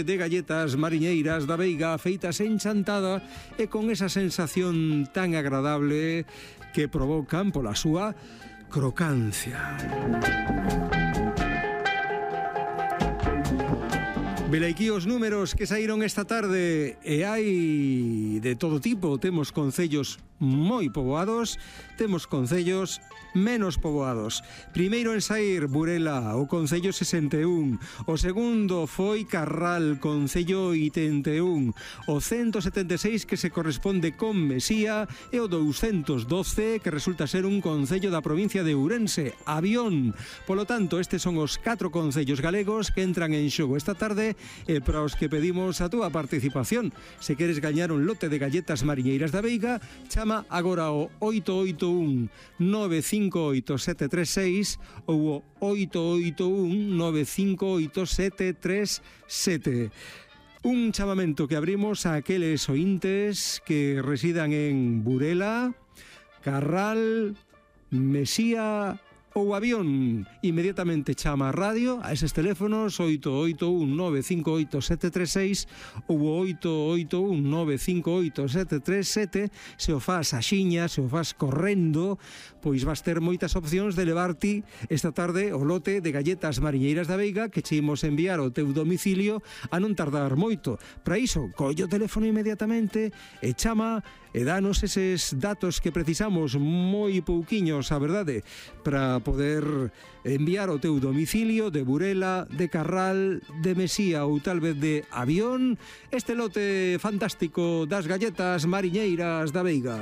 de galletas mariñeiras da Veiga feitas en Chantada e con esa sensación tan agradable que provocan pola súa crocancia. Velaquí os números que saíron esta tarde e hai de todo tipo. Temos concellos moi poboados, temos concellos menos poboados. Primeiro en saír Burela, o concello 61. O segundo foi Carral, concello 81. O 176 que se corresponde con Mesía e o 212 que resulta ser un concello da provincia de Ourense, Avión. Polo tanto, estes son os 4 concellos galegos que entran en xogo esta tarde e para os que pedimos a túa participación. Se queres gañar un lote de galletas mariñeiras da Veiga, chama agora o 881 958 736 ou o 881 958 737. Un chamamento que abrimos a aqueles ointes que residan en Burela, Carral, Mesía ou Avión. Inmediatamente chama a radio a eses teléfonos 881 958 736 ou 881 958 737. Se o fas axiña, se o fas correndo, pois vas ter moitas opcións de levarte esta tarde o lote de galletas mariñeiras da Veiga que che imos enviar ao teu domicilio a non tardar moito. Para iso, colle o teléfono inmediatamente e chama e danos eses datos que precisamos, moi pouquiños, a verdade, para poder enviar ao teu domicilio de Burela, de Carral, de Mesía ou tal vez de Avión este lote fantástico das galletas mariñeiras da Veiga.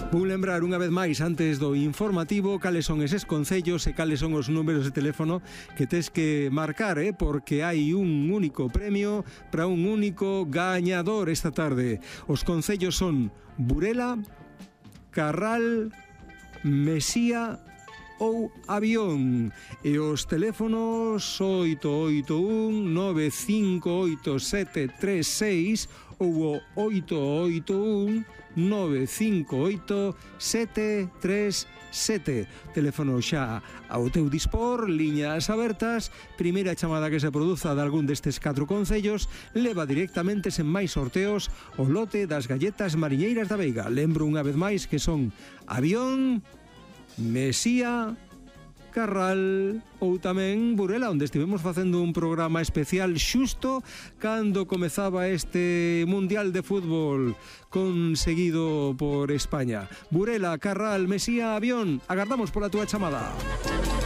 Vou lembrar unha vez máis antes do informativo cales son eses concellos e cales son os números de teléfono que tes que marcar, porque hai un único premio para un único gañador esta tarde. Os concellos son Burela, Carral, Mesía ou Avión e os teléfonos 881 958 736 ou o 881 958 737. Teléfono xa ao teu dispor, liñas abertas. Primeira chamada que se produza de algún destes 4 concellos leva directamente sen máis sorteos o lote das galletas mariñeiras da Veiga. Lembro unha vez máis que son Avión, Mesía, Carral ou tamén Burela, onde estivemos facendo un programa especial xusto cando comezaba este Mundial de Fútbol conseguido por España. Burela, Carral, Mesía, Avión, agardamos pola túa chamada.